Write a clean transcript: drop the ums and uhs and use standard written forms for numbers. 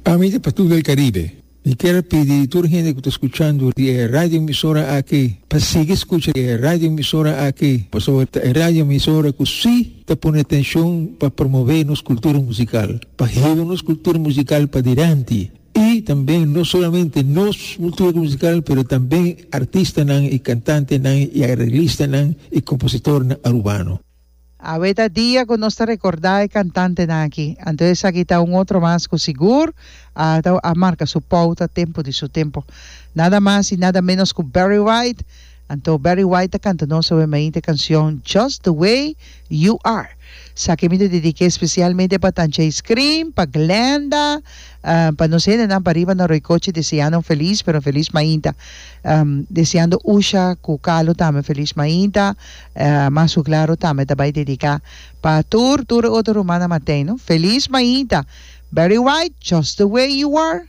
Ami ta Patul del Caribe. Mi kier pidi tur hende ku ta skuchando di e radioemisora aki pa sigui skucha e radioemisora aki pasobra ta e radioemisora ku si ta pone atenshon pa promove nos kultura musikal, pa hiba nos kultura musikal padilanti i tambe no solamente nos kultura musikal pero tambe artistanan i kantantenan i areglistanan i kompositornan arubano. Awe ta dia ku nos ta rekordá e kantantenan aki. Anto esaki ta un otro mas ku sigur a ta a marka su pouta tempu di su tempu. Nada mas i nada ménos ku Barry White. Anto Barry White ta kanta nos awe mainta e kansion Just the Way You Are. Esaki mi ta dedik'é spesialmente pa Tancha Iskrim, pa Glenda, pa nos hendenan pariba na Roycochi deseando un felis pero un felis mainta. Deseando Usha ku Carlo tambe un felis mainta. Mas ku klaro tambe ta bai dediká pa tur tur e otro rumannan Matei no. Felis mainta. Barry White, Just the way you are.